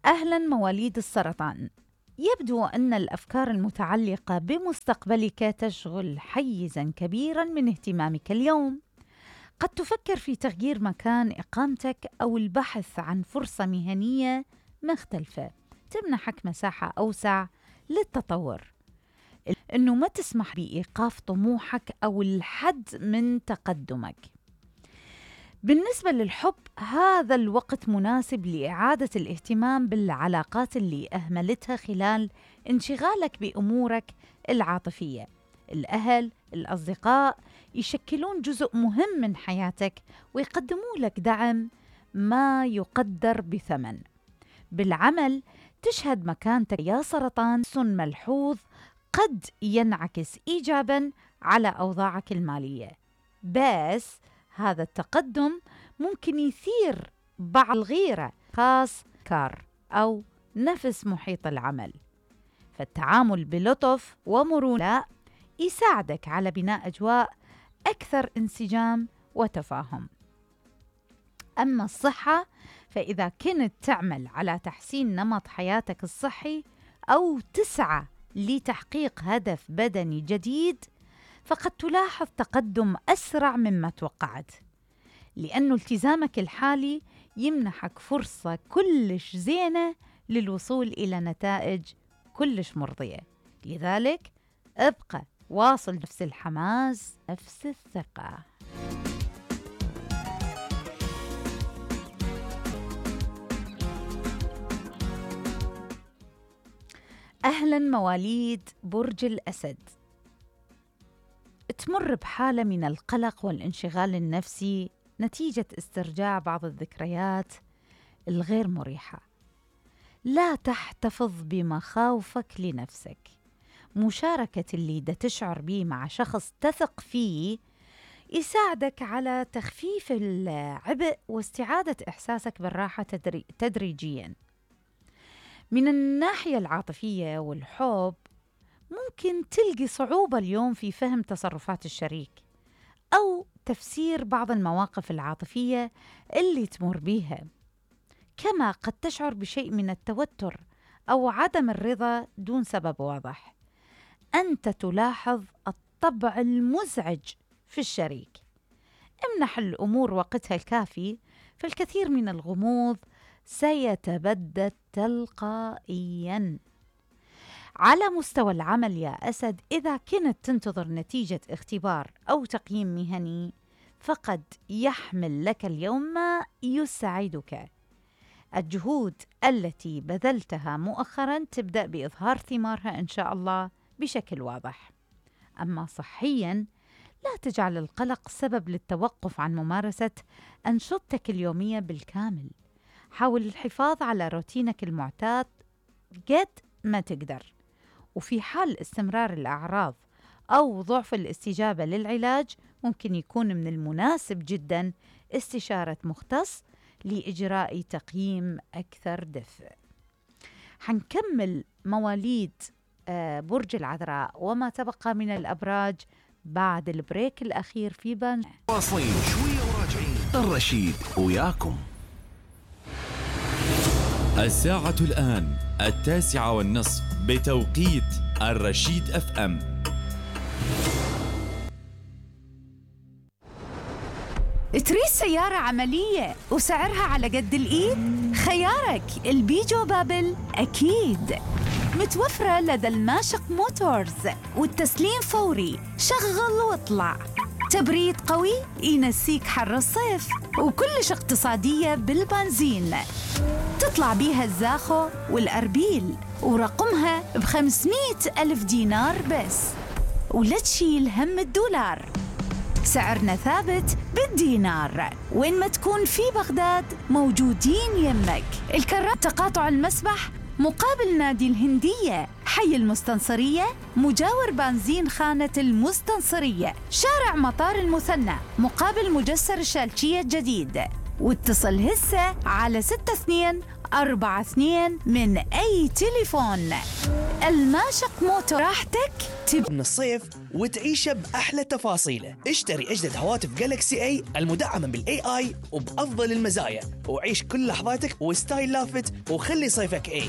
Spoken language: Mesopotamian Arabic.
أهلاً مواليد السرطان. يبدو أن الأفكار المتعلقة بمستقبلك تشغل حيزاً كبيراً من اهتمامك اليوم. قد تفكر في تغيير مكان إقامتك أو البحث عن فرصة مهنية مختلفة تمنحك مساحة أوسع للتطور. إنه ما تسمح بإيقاف طموحك أو الحد من تقدمك. بالنسبة للحب، هذا الوقت مناسب لإعادة الاهتمام بالعلاقات اللي أهملتها خلال انشغالك بأمورك العاطفية. الأهل، الأصدقاء يشكلون جزء مهم من حياتك ويقدموا لك دعم ما يقدر بثمن. بالعمل، تشهد مكانتك يا سرطان ملحوظ قد ينعكس إيجاباً على أوضاعك المالية، بس هذا التقدم ممكن يثير بعض الغيرة خاص كار أو نفس محيط العمل. فالتعامل بلطف ومرونة يساعدك على بناء أجواء أكثر انسجام وتفاهم. أما الصحة، فإذا كنت تعمل على تحسين نمط حياتك الصحي أو تسعى لتحقيق هدف بدني جديد، فقد تلاحظ تقدم أسرع مما توقعت، لأن التزامك الحالي يمنحك فرصة كلش زينة للوصول إلى نتائج كلش مرضية. لذلك ابقى واصل نفس الحماس، نفس الثقة. أهلاً مواليد برج الأسد. تمر بحالة من القلق والانشغال النفسي نتيجة استرجاع بعض الذكريات الغير مريحة. لا تحتفظ بمخاوفك لنفسك. مشاركة اللي تشعر به مع شخص تثق فيه يساعدك على تخفيف العبء واستعادة إحساسك بالراحة تدريجياً. من الناحية العاطفية والحب، ممكن تلقي صعوبة اليوم في فهم تصرفات الشريك أو تفسير بعض المواقف العاطفية اللي تمر بيها. كما قد تشعر بشيء من التوتر أو عدم الرضا دون سبب واضح. أنت تلاحظ الطبع المزعج في الشريك. امنح الأمور وقتها الكافي، فالكثير من الغموض سيتبدد تلقائياً. على مستوى العمل يا أسد، إذا كنت تنتظر نتيجة اختبار أو تقييم مهني، فقد يحمل لك اليوم ما يسعدك. الجهود التي بذلتها مؤخراً تبدأ بإظهار ثمارها إن شاء الله بشكل واضح. أما صحياً، لا تجعل القلق سبب للتوقف عن ممارسة أنشطتك اليومية بالكامل. حاول الحفاظ على روتينك المعتاد قد ما تقدر، وفي حال استمرار الأعراض أو ضعف الاستجابة للعلاج، ممكن يكون من المناسب جداً استشارة مختص لإجراء تقييم أكثر دفء. حنكمل مواليد برج العذراء وما تبقى من الأبراج بعد البريك الأخير في بان. واصلين شوية وراجعين. الرشيد وياكم. الساعة الآن 9:30 بتوقيت الرشيد FM. تريد سيارة عملية وسعرها على قد الإيد؟ خيارك البيجو بابل أكيد. متوفرة لدى الماشق موتورز، والتسليم فوري. شغل واطلع. تبريد قوي ينسيك حر الصيف، وكلش اقتصادية بالبنزين. تطلع بيها الزاخو والأربيل، ورقمها ب500,000 دينار بس، ولا تشيل هم الدولار. سعرنا ثابت بالدينار. وين ما تكون في بغداد موجودين يمك. الكرات تقاطع المسبح مقابل نادي الهندية، حي المستنصرية مجاور بنزين خانة المستنصرية، شارع مطار المثنى مقابل مجسر الشالشية الجديد. واتصل هسه على 6242 من أي تليفون. الماشق موتور، راحتك من الصيف وتعيشه بأحلى تفاصيله. اشتري أجدد هواتف جالكسي اي المدعمة بالاي اي وبأفضل المزايا، وعيش كل لحظاتك وستايل لافت، وخلي صيفك اي.